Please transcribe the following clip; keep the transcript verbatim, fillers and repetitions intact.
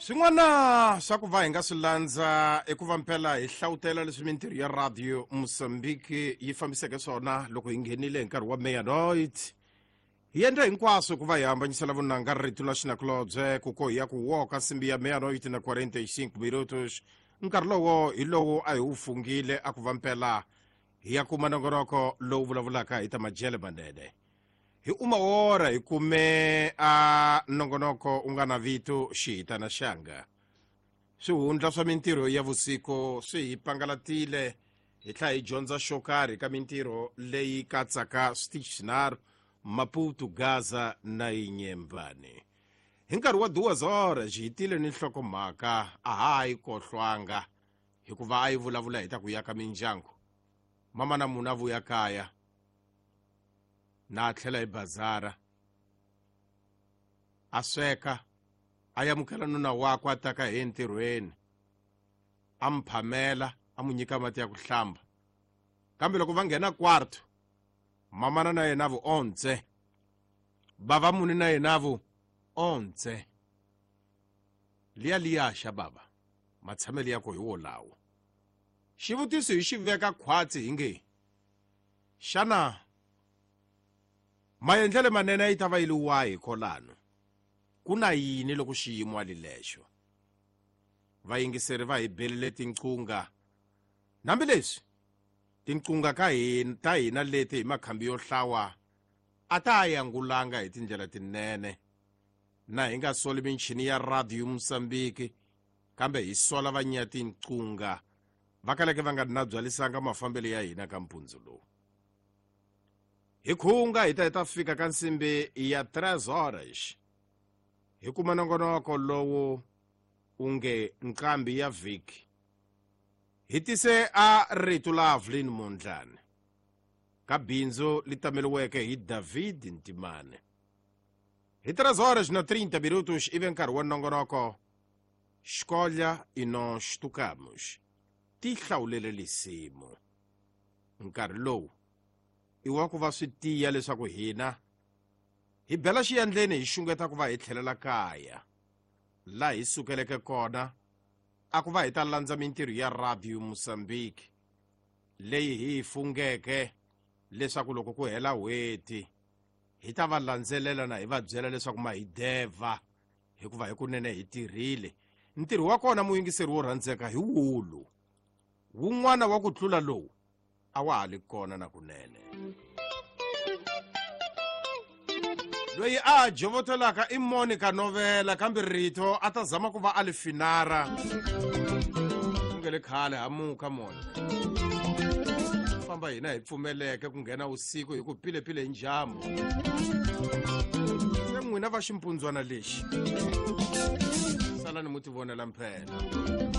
Swin'wana swa ku va hi nga swi landza i ku va mpela hi hlawutela leswi mintirho ya Radio Mozambique yi fambiseke swona loko hi nghenile hi nkarhi wa meia-noite. Hi endla hinkwaswo ku va hi hambanyisela vunanga rito la xinakulobye ku ko hi ya ku woka nsimbi ya meia-noite na quarenta e cinco minutos. Nkarhi lowo hi lowu a hi wu fungile a ku va mpela hi ya kuma nongonoko lowu vulavulaka hi ta majele manene. Hi uma hora hi kume a nongonoko u nga na vito Xihitana Xanga. Swihundla swa mintirho ya vusiku swi hi pangalatile, hi tlhela hi dyondza xo karhi ka mintirho leyi katsaka switichi swinharhu, Maputo, Gaza na Inyembani. Hi nkarhi wa duas horas hi tile ni nhlokomhaka a ha yi kohlwanga, hikuva a yi vulavula hi ta ku yaka mindyangu. Mama na munhu a vuya kaya na a tlhela hi bazara, a sweka, a amukela nuna wakwe a taka hi entirhweni, a mu phamela, a mu nyika mati ya ku hlamba. Kambe loko va nghena kwarto, mamana na yena vu ontse, bava muni na yena vu ontse, liya liya xa bava matshamelo ya ko hi wolawo. Xivutiso hi xi veka khwatsi hi nge, xana maendlelo manene yi ta va yi li wahi kolano? Ku na yini loko xiyimo ali lexo? Vayingiseri va hi belile tinqunga, hambileswi tinqunga ka hina ta hina leti hi makhambi yo hlawa a ta yangulanga hi tindlela tinene. Na hi nga soli michini ya Radio Mozambique, kambe hi sola vanya tinqunga va kaleke va nga na byalisanga mafambelo ya hina ka mpundzu lowu. Hi khunga hi ta hi ta fika ka nsimbi ya três horas, hi kuma nongonoko lowu u nge Nqambi ya Vhiki. Hi tise a rito la Evelyn Mondlane ka bindzu li tameliweke hi David Ntimane. Hi três horas na trinta minutos ive nkarhi wa nongonoko Escolha e Nós Tocamos, Ti hlawulele lisimu. Nkarhi lowu i wa ku va swi tiya leswaku hina hi bela xiyandleni, hi xungeta ku va hi tlhelela kaya laha hi sukeleke kona, a ku va hi ta landza mintirho ya Radio Mozambique leyi hi yi fungeke leswaku loko ku hela n'hweti hi ta va landzelela na hi va byela leswaku ma hi devha, hikuva hikunene hi tirhile. Ntirho wa kona, muyingiseri wo rhandzeka, hi wulu wun'wana wa ku tlula lowu a wa ha li kona na kunene. Loyi a jovotelaka i Monica Novela, kambe rito a ta zama ku va a li finara ku nge le khale hamuka Monica famba. Hina hi pfumeleke ku nghena usiku hi ku pilepile hi njhambu se n'wina va ximpundzwana lexi salani mu tivonela mphela.